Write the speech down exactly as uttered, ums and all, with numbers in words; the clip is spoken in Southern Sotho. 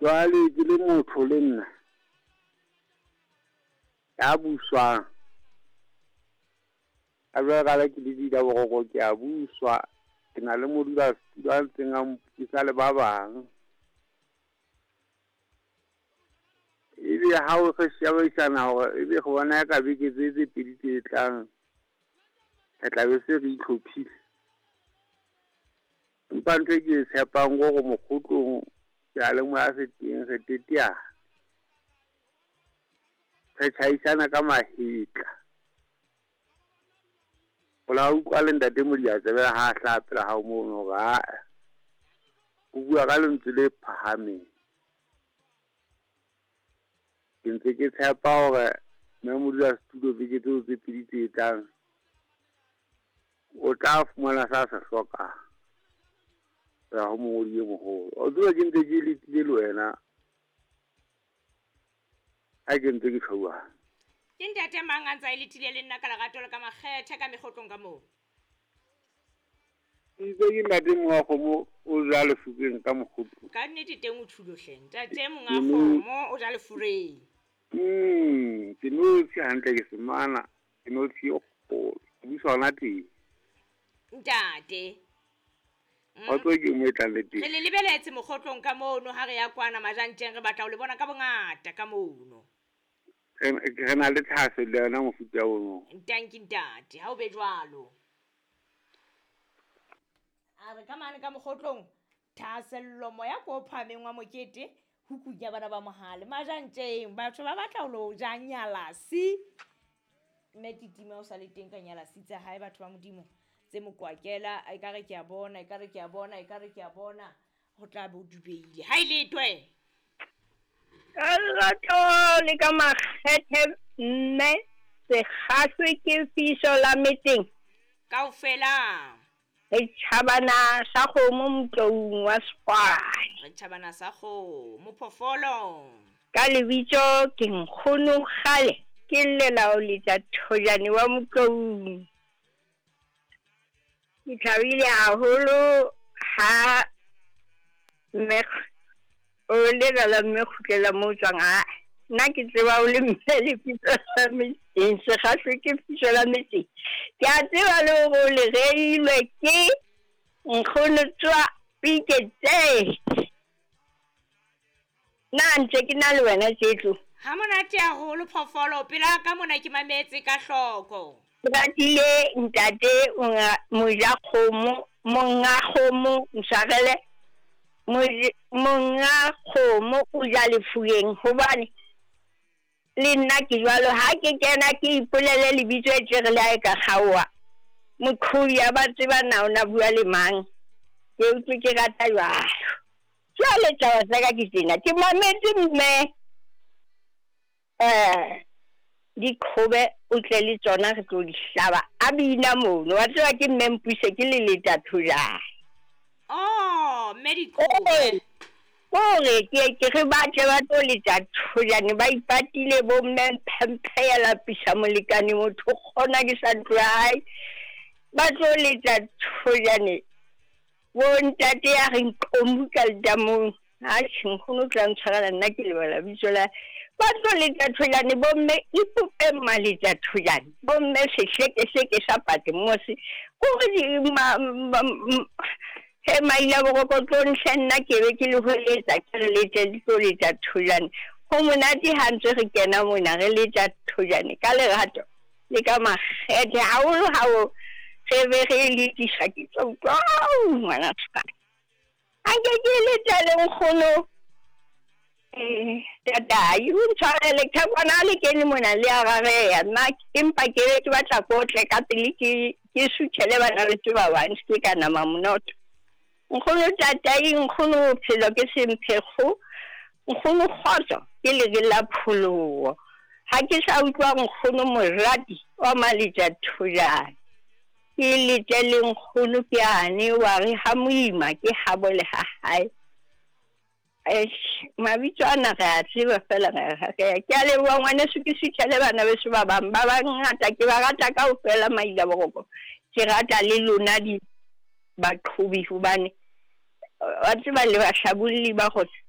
Jwale ke le motho le nna ya buswang. A jwale ka ke le dila boroko ke a buswa, ke na le modulasetulo a ntseng a mpusa le ba bang. Ebe ha o re shebaisana hore ebe re bona ka beke tse tse pedi tse tlang re tla be se re itlhophile. Empa ntho e ke e tshepang ke hore mokgotlong seyalemoya se teng re teteana. Re tjhaisana ka mahetla. O la utlwa le ntate Modiantsebe ha a hlaha pela hao mono hore ae, o bua ka lentswe le phahameng. Ke ntse ke tshepa hore mme modulasetulo beke tseo tse pedi tse tlang o tla fumana sa se hlokang ho ya ho mongodi e moholo. O tseba ke ntse ke letile le wena ha ke ntse ke tjho jwalo. Ke ntate mang a ntse a e letile le nna ka lerato le ka makgethe ka mekgotlong ka moo? Ke itse ke ntate monga kgomo o ja lefukeng ka mokgotlong. Ka nnete teng o tjhulo hle. Ntate monga kgomo o ja lefureng. Mm, ke notshi hantle ke semana, ke notshi e kgolo. Ke busa hona teng. Ntate. Wa tseba ke mo e tlang le teng. Re le lebeletse mokgotlong ka mono ha re ya kwana Majantjeng, re batla ho le bona ka bongata ka mono. Re re na le thahasello ya yona mofuta ono. Ntanki ntate, ha o be jwalo. A re ka mane ka mokgotlong, thahasello moya ko phahameng wa mokete, hukung ya bana ba mohale. Majantjeng, batho ba batla ho lo ja nyalasi. Mme Titima o sa le teng ka nyalasi tsa hae, batho ba Modimo. Tse mokwakela, ekare ke a bona, ekare ke a bona, ekare ke a bona, ho tla be o dubeile. Ha e letwe. Ka lerato le ka makgethe mme sekgahlwe ke fiso la metseng. Kaofela. Re tjhabana sa kgomo motloung wa Sekgwane. Re tjhabana sa kgomo phoofolo. Ka lebitso ke nkgono kgale, ke llela ho letsa thojane wa motloung. Ke thabile haholo ha mme o lebala mme kgutlela moo tswang. Ha nna ke tseba o le mme lebitso la metseng, sekgahlwe ke fiso la metseng. Ke a tseba le hore o le reilwe ke nkgono tswa pike tse. Nna ntse ke na le wena Tsetlo. Ha monate haholo phoofolo, pela ka mona ke mametse ka hloko. Ke ratile ntate moja kgomo, monga kgomo, ntshwarele. Monga kgomo o ja lefuyeng hobane le nna ke jwalo. Ha ke kena ke ipolele lebitso e tjere le ha e ka kgaoha, moqhobi ya ba tseba na o na bua le mang. Ke utlwe ke rata jwalo. Jwale taba tsa ka ke tsena, ke mametse mme eh dikgobe o tle le tsona re tlo di hlaba. A bina mono, wa tseba ke mme Mpuse ke le leta thojane. Oh, mme dikgobe. Kore ke ke re batle ba tlo letsa thojane, ba ipatile bo mme Mphemphe ya lapisa molekane motho kgona ke sa ntlo ya hae. Ba tlo letsa thojane. Bo ntate ya re nqomu ka letamong. Atjhe, nkgono o tla ntshwarela nna ke lebala bitso la. Ba tlo letsa thojane bo mme ipope maletsa thojane. Bo mme sehlekehleke sa Patmos. Kore di ma he maila boroko tlo ntlha nna ke be ke le holetsa ke re letse di tlo letsa thojane. Ho monate ha ntse re kena mona re letsa thojane ka lerato le ka makgethe haholo ha o re be re letisa ke tlo utlwa ngwana ska. A nke ke letsa le nkgono eh tatai o ntshwarele ka bona le kene mona le a rareya nna, empa ke be ke batla ko tle ka pele ke ke suthele bana le ba bang ke ka nama monoto. Nkgono tatai, nkgono bophelo ke semphekgo, nkgono kgotso ke lere la pholoho. Ha ke sa utlwa nkgono morati wa maletsa thojane, ke letse le nkgono ke ane wa re ha moima ke habo le ha hae. Eish, mabitso ana re a tseba fela re re ke a leboha ngwaneso, ke suthele bana beso ba bang ba bangata ke ba rata kaofela maila boroko. Ke rata le lona di baqhobi hobane wa tseba le bahlabolli ba kgotsa